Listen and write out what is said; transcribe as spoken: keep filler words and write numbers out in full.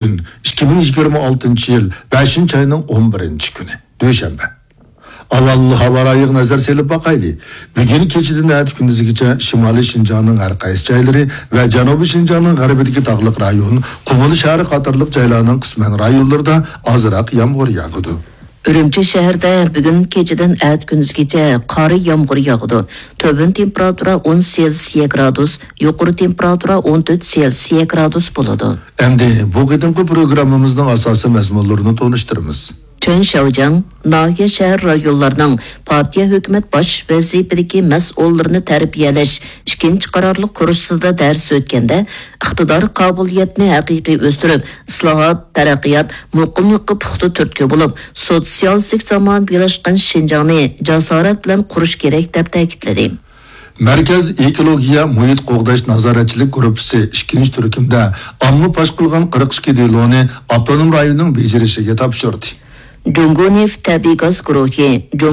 ئىككى مىڭ يىگىرمە ئالتىنچى يىل بەشىنچى ئاينىڭ ئون بىرىنچى كۈنى، دۈشەنبە. ئاۋۋال ھاۋا رايىغا نەزەر سېلىپ باقايلى. بۈگۈن كېچىدىن ئەتە كۈندۈزگىچە شىمالىي شىنجاڭنىڭ ھەر قايسى جايلىرى ۋە جەنۇبىي شىنجاڭنىڭ غەربىدىكى تاغلىق رايون، قۇمۇل شەھىرى قاتارلىق جايلارنىڭ قىسمەن رايونلىرىدا ئازراق يامغۇر ياغىدۇ. ئۈرۈمچى شەھىرىدە بۈگۈن كېچىدىن ئەتە كۈندۈزگىچە قار يامغۇر ياغىدۇ. تۆۋەن تېمپېراتۇرا ئون سېلسىيە گرادۇس، يۇقىرى تېمپېراتۇرا ئون تۆت سېلسىيە گرادۇس بولىدۇ. ئەمدى بۇ قېتىمقى پروگراممىمىزنىڭ ئاساسىي مەزمۇنلىرىنى تونۇشتۇرىمىز. چېن شياۋجياڭ ناھىيە، شەھەر، رايونلارنىڭ پارتىيە، ھۆكۈمەت باش ۋەزىپىدىكى مەسئۇللىرىنى تەربىيەلەش ئىككىنچى قارارلىق كۇرسىدا دەرس ئۆتكەندە، ئىقتىدار، قابىلىيەتنى ھەقىقىي ئۆستۈرۈپ، ئىسلاھات، تەرەققىيات، مۇقىملىققا پۇختا تۈرتكە بولۇپ، سوتسىيالىستىك زامانىۋىلاشقان شىنجاڭنى جاسارەت بىلەن قۇرۇش كېرەك، دەپ تەكىتلىدى. مەركەز ئېكولوگىيە مۇھىت قوغداش نازارەتچىلىك گۇرۇپپىسى ئىككىنچى تۈركۈمدە ئامما پاش قىلغان قىرىق ئىككى دېلونى ئاپتونوم رايوننىڭ بېجىرىشىگە تاپشۇردى. جۇڭگو نېفىت تەبىئىي گاز گۇرۇھى، جۇڭگو